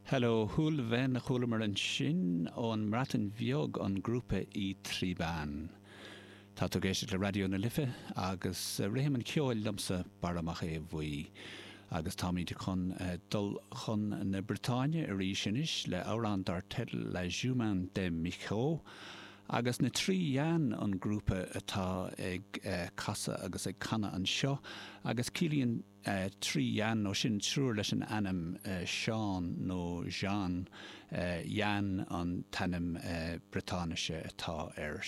Hello Houlven a chualamar ansin ón mBreatain Bheag, an grúpa Y Triban. Tá tú ag éisteacht le Raidió na Life agus Rithim an Cheoil liomsa, Barra Mac Aodha Bhuí. Agus táimid chun dul chun na Briotáine arís anois le amhrán dar teideal La Jument de Michaux. Agus na Tri Yann an grúpa atá ag casadh agus ag canadh anseo agus ciallaíonn Tri Yann, nó sin triúr leis an ainm Seán nó Jean, Yann an t-ainm Briotáinise atá ar.